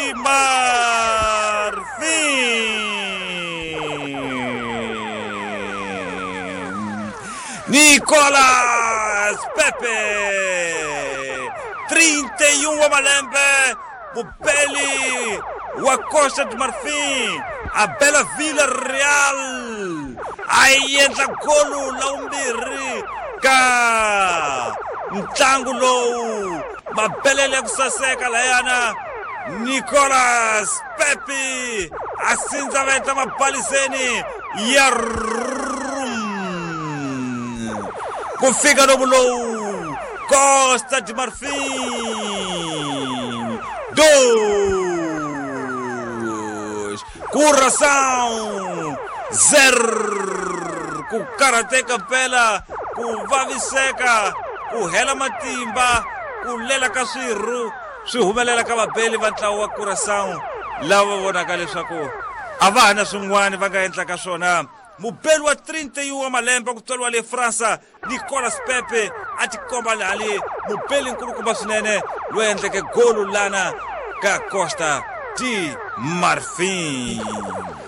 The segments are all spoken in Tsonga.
de Marfim. Nicolas Pepe, 31 wa malembe, mubeli wa Costa de Marfim, a bela Vila Real, a yi endla golu la vumbirhi ka ntlangu lowu. Mabelele ya ku saseka layana, Nicolas Pepe a sindza va endla mabaliseni ya rum ku fika lomu lowu. Costa de Marfim 2, Curaçao 0. Ku karhateka mpela, ku vaviseka, ku hela matimba, ku lela ka swirhu swi humelela ka vabeli va ntlawa wa Curaçao, lava vonaka leswaku a va ha na swin'wana va nga endlaka swona. Mubeli wa 31 wa malembe ku tswariwa le Fransa, Nicolas Pepe, a tikomba lali mubeli nkulukumba swinene loyi endleke golu lana ka Costa de Marfim.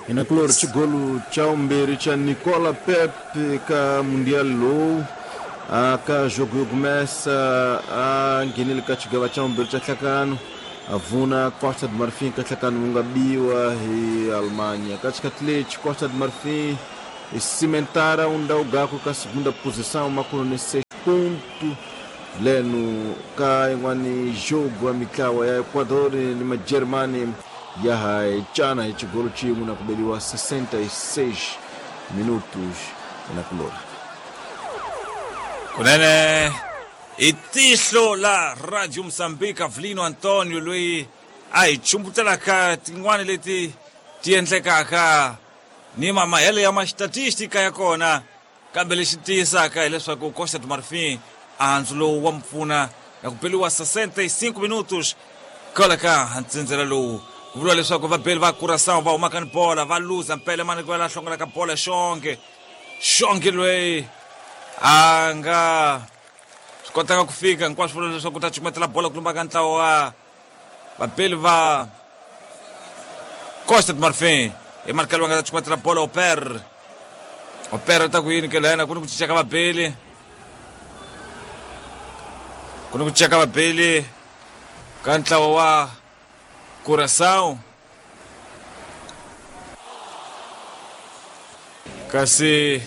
Inakulori xigolu xa vumbirhi xa Nicola Pepe ka Mundial lowu. Ka jogo yo gumesa a nghenile ka xigava xa vumbirhi xa nhlakano, a vuna Costa de Marfim ka nhlakano wu nga biwa hi Alemanha. Ka xikhathi lexi Costa de Marfim cimentara um ndhawu gakwe ka segunda posição makuno ni 6 ponto. Leno ka yin'wani jogo ya mitlawa ya Ecuador ni Majeremani ya ha cana hi xigolo xin'we na ku beliwa 66 minutos na kulori. Kunene i tihlo la Radio Mozambique, Avelino Antonio, loyi a hi chumbutelaka tin'wani leti ti endlekaka ni mamahelo ya mastatistika ya kona. Kambe lexi tiyisaka hileswaku Costa de Marfim andzu lowu wa mpfuna na ku beliwa 65 minutos kwala ka ntsindzela lowu. Ku vuriwa leswaku vabeli va Curaçao va humaka ni bola, va luza mpele mani ku la hlongolaka bola xonge xonge loyi a nga swi kotaka ku fika hinkwaswo, vula leswaku ta cukumetela bola ku lumba ka ntlawa wa vabeli va Costa de Marfim. Hi marikelo va nga ta cukumetela bola Oper. Oper ta ku yini ke lena? Ku ni ku cinca ka vabeli, ku ni ku cinca ka vabeli ka ntlawa wa Curaçao, kasi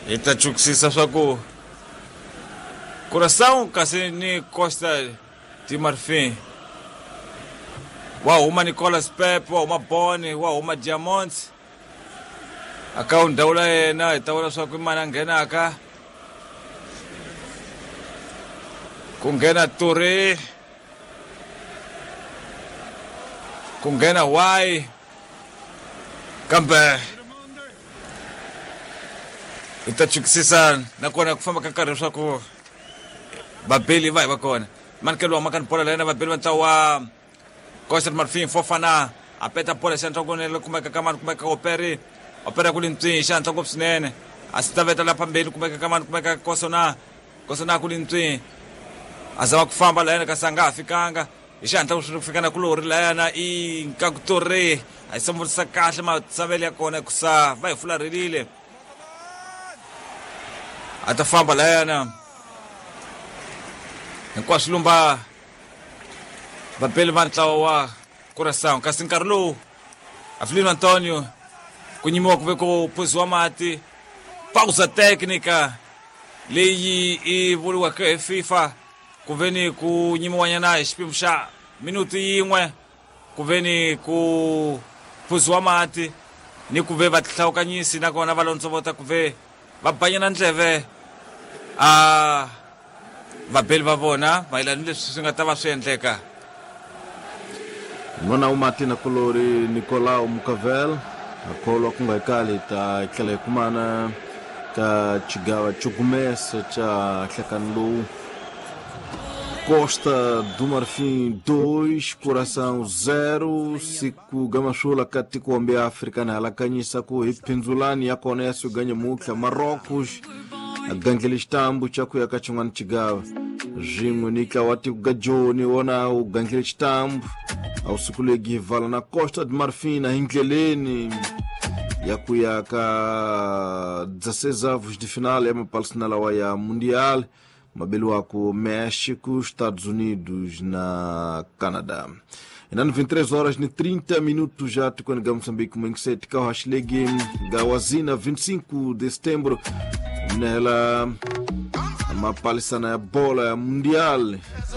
hi ta chukisisa swa ku Curaçao kasi ni Costa de Marfim. Wa huma Nicolas Pepe, wa huma Boni, wa huma Diamonds aka ndhawu la yena. Hi ta vona swa ku i mani a nghenaka. Ku nghena Touré, ku nghena Y, kambe hi ta chukisisa nakona ku famba ka nkarhi leswaku vabeli va hi va kona. Manikelo wa makani bola la yena vabeli va ntlawa wa Costa de Marfim. Fofana a peta bola xandla kunene, kumeka ka mani? Kumeka Operi. Opera ku lintswi xandla ngopfu swinene, a swi ta veta la phambeni. Kumeka ka mani? Kumeka Kosona. Kosona ku lintswi, a zama ku famba la yena kasi a nga ha fikanga hi xihatla ku fika na kulori layana i nkakutori. A yi samurisa kahle matsavelo ya kona kusa va hi fularhelile. A ta famba layana hinkwaswo lumba vabeli va ntlawa wa Curaçao. Kasi nkarhi lowu, Avelino Antonio, ku nyimiwa ku ve ku phuziwa mati, pausa técnica leyi i vuriwaka hi FIFA, ku ve ni ku nyimiwanyana hi xipimo xa minuti yin'we, ku ve ni ku phuziwa mati ni ku ve vahlawukanyisi nakona va londzovota ku ve va banyana ndleve a vabeli va vona mayelana ni leswi swi nga ta va swi endleka. N'wana wa mati na kulori Nicolau Mucavel akholwa ku nga kali hi ta tlhela hi kumana ka xigava xo gumesa xa nhlekani lowu. Costa do Marfim 2, Curaçao 0. Siku gamasula ka tiko ya Afrika na halakanyisa ku hi phindzulani ya kona ya suganya mutlha Marrocos a gandlele xitambu xa ku ya ka xin'wana xigava. Swin'we ni ntlawa wa tiko ga Joni wona wu gandlile xitambu a wu sukulegi vala na Costa de Marfin hi ndleleni ya ku ya ka 16 avos de final ya mapalisana lawa ya Mundial mabeliwako México, Estados Unidos na Canadá. Inani 23 horas ni 30 minutos já tikweni ga Moçambique mwengiseti ka hashilegi ga wazina 25 de setembro mnehela mapalisana ya bola ya Mundial.